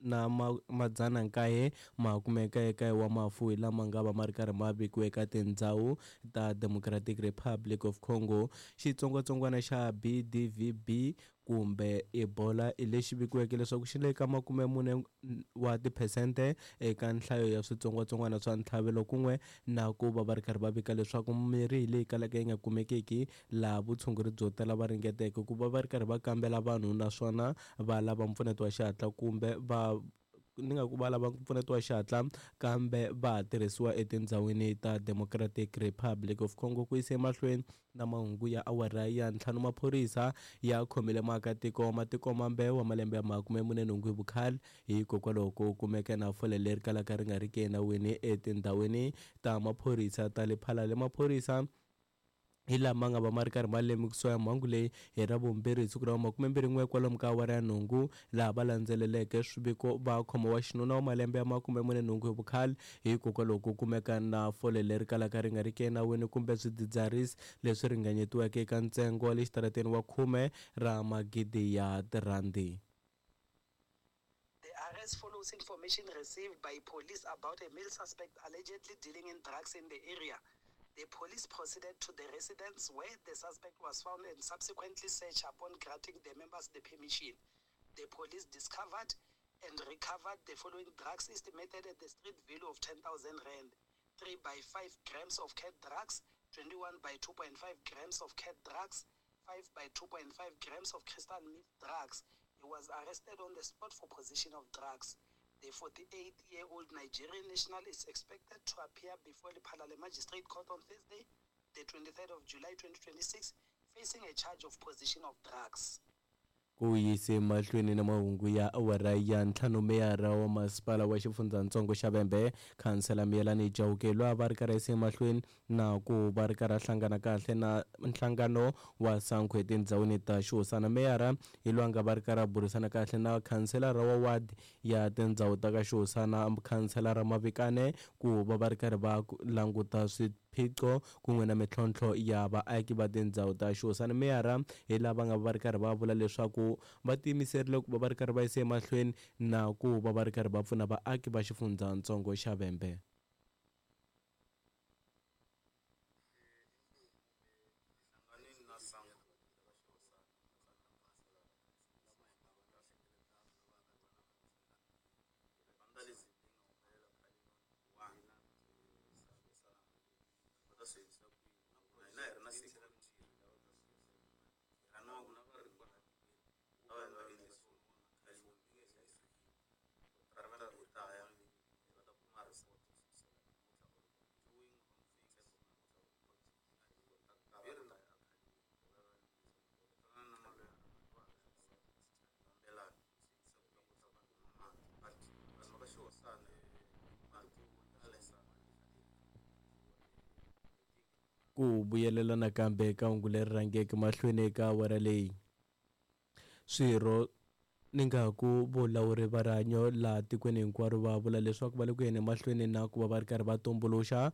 na madzana nkaye makume kayekaye wa mafu hi lama nga va ma ri karhi ma vikiwe eka tindhawu ta Democratic Republic of Congo. Xitsongwatsongwana xa BDVB kumbe Ebola hi lexi vikiweke leswaku xi le ka 40 wa tiphesente eka nhlayo ya switsongwatsongwana swa ntlhavelo kun'we na ku va va ri karhi va vika leswaku mirhi hi leyi kalaka yi nga kumekiki laha vutshunguri byo tala va ringeteke ku va va ri karhi va kambela vanhu naswona va lava mpfuneto wa xihatla kumbe va ni nga ku va lava mpfuneto wa xihatla kambe va ha tirhisiwa etindhawini ta Democratic Republic of Congo. Ku yisa emahlweni na mahungu ya awara ya ntlhanu, maphorisa ya khomile muakatiko wa matiko mambe wa malembe ya 48 hi vukhale hikokwalaho ko kumeka na fole leri kalaka ri nga ri ki enawini etindhawini ta maphorisa ta le Phalale. Maphorisa hi lama nga va ma ri karhi ma lemukisiwa ya mhangu leyi hi Ravumbirhi hi siku ra 21 kwalomu ka awara ya nhungu, laha va landzeleleke swiviko va khoma wa xinuna wa malembe ya 48 hi vukhale hikokwalaho ko kumeka na fole leri kalaka ri nga ri ki enawini kumbe swidzidziharisi leswi ringanyetiweke eka ntsengo wa le xitarateni wa khume ra magidi ya tirhandi. The arrest follows information received by police about a male suspect allegedly dealing in drugs in the area. The police proceeded to the residence where the suspect was found and subsequently searched upon granting the members the permission. The police discovered and recovered the following drugs estimated at the street value of 10,000 rand. 3 by 5 grams of cat drugs, 21 by 2.5 grams of cat drugs, 5 by 2.5 grams of crystal meth drugs. He was arrested on the spot for possession of drugs. The 48-year-old Nigerian national is expected to appear before the Lephalale Magistrate Court on Thursday, the 23rd of July 2026, facing a charge of possession of drugs. Ku yise mahlweni na mahungu ya awara ya ntlhanu, meyara wa masipala wa xifundzatsongo xa Vhembe, khansela Miyelani Chauke, loyi a va ri karhi a yisa emahlweni na ku va ri karhi a hlangana kahle na nhlangano wa SANCO etindhawini ta xihosana. Meyara hi loyi a nga va ri karhi a burisana kahle na khanselara wa ward ya tindhawu ta ka xihosana, khanselara Mavikane, ku va va ri karhi va languta swiphiqo kun'we na mintlhontlho ya vaaki va tindhawu ta xihosana. Meyara hi lava nga va ri karhi va vula leswaku va tiyimiserile ku va va ri karhi va yisa emahlweni na ku va va ri karhi va pfuna vaaki va xifundzatsongo xa Vhembe. Ku vuyelela nakambe eka hungu leri rhangeke mahlweni eka awara leyi, swirho ni nga ku vulawuri va rihanyo laha tikweni hinkwaro va vula leswaku va le ku yeni emahlweni na ku va va ri karhi va tumbuluxa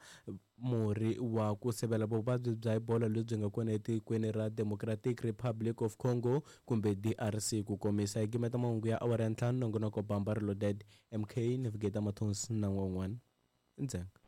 murhi wa ku sivela vuvabyi bya Ebola lebyi nga kona etikweni ra Democratic Republic of Congo kumbe DRC. Ku komisa hi gimeta mahungu ya awara ya ntlhanu, nongonoko Bamba Reloaded, MK Navigator Mathonsi na n'wan'wana ndzhenga.